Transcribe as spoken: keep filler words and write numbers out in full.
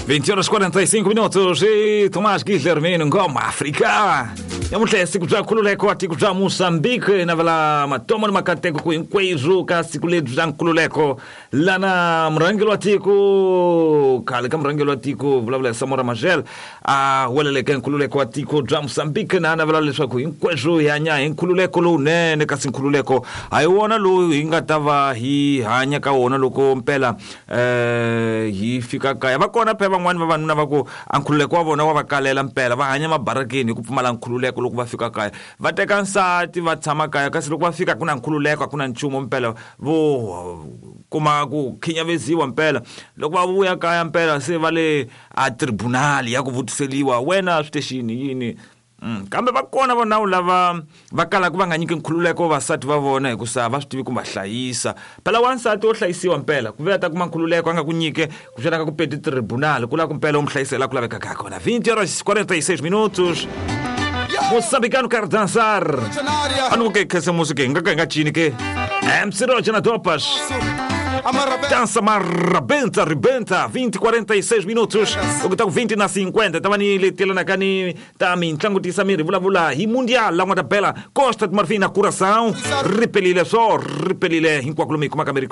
vinte horas e quarenta e cinco minutos e Tomás Guilhermino Ngoma África. Namuntlha siku bya nkhululeko tiko bya Mozambique na vala matomo ni makateko ku hinkweswo ka siku lebyi bya nkhululeko lana murhangeri wa tiko khale ka murhangeri wa tiko vulavula Samora Machel a weleleke nkhululeko wa tiko bya Mozambique na navela leswaku hinkweswo hi hanya hi nkhululeko lowunene kasi nkhululeko a hi wona lowu hi nga ta va hi hanya ka wona loko mpela eh hi fika kaya va kona phela van'wani vavanuna va ku a nkhululeko wa vona wa va kalela mpela va hanya mabarakeni hi ku pfumala nkhululeko loko va fika kaya va teka nsati va tshama kaya kasi loko va fika ku na nkhululeko a ku na nchumu mpela vo kuma ku khinyavesiwa mpela loko va vuya kaya mpela se va le a tribunal ya ku vutiseliwa wena switexini yini. Mm, kambe va kona vona lava va kalaka va nga nyiki nkhululeko vasati va vona hikusa va swi tivi ku va hlayisa phela wansati wo hlayisiwa mpela ku vuya ta kuma nkhululeko a nga ku nyike ku xana ka ku peti tribunal ku lava ku mpela u mu hlayisela ku lavekaka ha kona. vinte horas e quarenta e seis minutos. Moçambicano quer dançar. Anu que que essa música nga nga chini que M C Roger na Dopas. Dança marabenta, rebenta, vinte e quarenta e seis minutos. O que tá com vinte na cinquenta. Tava ni letela na cani, tá me entlangutisa miri, vula vula. E mundial, lá uma tabela, Costa de Marfim na coração. Repelile só, repelile, em qualquer lugar, como a câmera.